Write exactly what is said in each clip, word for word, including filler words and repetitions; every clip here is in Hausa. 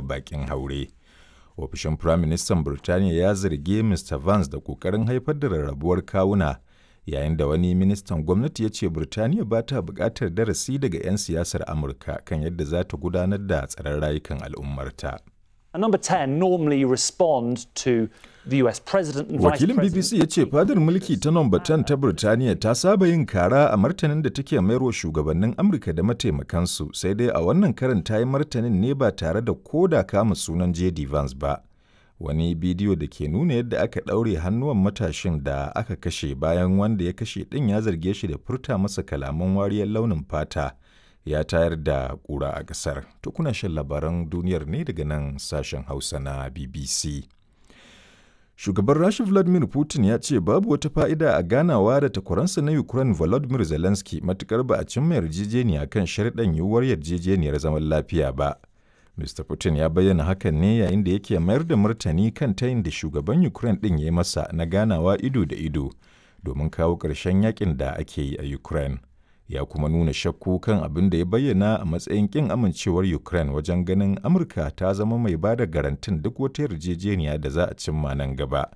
baƙin haure. Ofishin Firaministan Birtaniya ya zargi Mista Vance da ƙoƙarin haifar da rarrabuwar kawuna, yayin da wani ministan gwamnati ya ce Birtaniya ba ta buƙatar darasi daga 'yan siyasar Amurka kan yadda za ta gudanar da tsaron rayukan al'ummarta. And number ten normally respond to the U S president and vice Wakilin president. B B C ya ce fadar mulki ta Nomba ten ta Birtaniya ta saba yin kara a martanin da take mayarwa shugabannin Amurka da mataimakansu, sai dai a wannan karin ta yi martanin ne ba tare da koda kama sunan J D Vance ba. Wani bidiyo da ke nuna yadda aka ɗaure hannuwan matashin da aka kashe bayan wanda ya kashe ɗin ya zarge shi da furta masa kalaman wariyar launin fata ya tayar da ƙura a ƙasar. To, kuna shan labaran duniyar ne daga nan sashen Hausa na B B C. Shugaban Rasha Vladimir Putin ya ce babu wata fa'ida a ganawa da takwaransa na Ukraine Volodymyr Zelensky matukar ba a cimma yarjejeniya kan sharɗan yiwuwar yarjejeniyar zaman lafiya ba. Mister Putin ya bayyana hakan ne yayin da yake mayar da martani kan tayin da shugaban Ukraine ɗin ya yi masa na ganawa ido da ido domin kawo ƙarshen yakin da ake yi a Ukraine. Ya kuma nuna shakku kan abin da ya bayyana a matsayin ƙin amincewar Ukraine wajen ganin Amurka ta zama mai ba da garantin duk wata yarjejeniya da za a cimma nan gaba.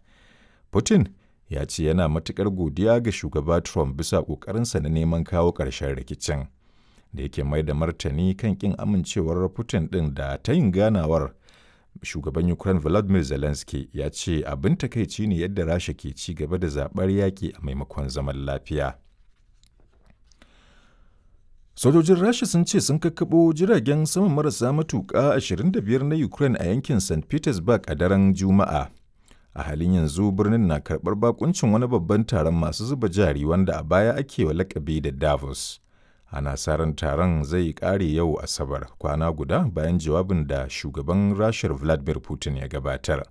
Putin ya ce yana matuƙar godiya ga shugaba Trump bisa ƙoƙarinsa na neman kawo ƙarshen rikicin. Da yake mai da martani kan ƙin amincewar Putin ɗin da ta yin ganawar, shugaban Ukraine Volodymyr Zelensky ya ce abin takaici ne yadda Rasha ke ci gaba da zaɓar yaƙi a maimakon zaman lafiya. Sojojin Rasha sun ce sun kakkaɓo jiragen sama marasa matuƙa ashirin da biyar na Ukraine a yankin Saint Petersburg a daren Juma'a. A halin yanzu birnin na karɓar bakuncin wani babban taron masu zuba jari wanda a baya ake wa lakabi da Davos. Ana sa ran taron zai ƙare yau Asabar, kwana guda bayan jawabin da shugaban Rashar Vladimir Putin ya gabatar.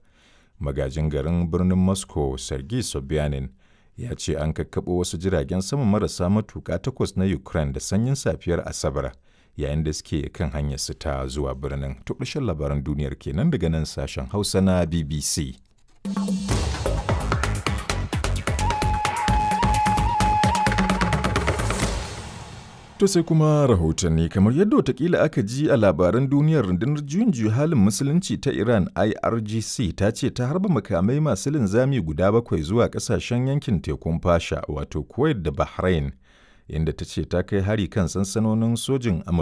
Magajin garin birnin Moscow, Sergei Sobyanin, ya ce an kakkaɓo wasu jiragen sama marasa matuƙa takwas na Ukraine da sanyin safiyar Asabar yayin da suke kan hanyar su ta zuwa birnin. To, ƙarshen labaran duniyar kenan daga nan sashen Hausa na B B C. To, sai kuma rahotanni. Kamar yadda watakila aka ji a labaran duniyar, rundunar juyin juya halin musulunci ta Iran I R G C ta ce ta harba makamai masu linzami guda bakwai zuwa kasashen yankin tekun Fasha, wato Kuwait da Bahrain, inda ta ce ta kai hari kan sansanonin sojin Amurka.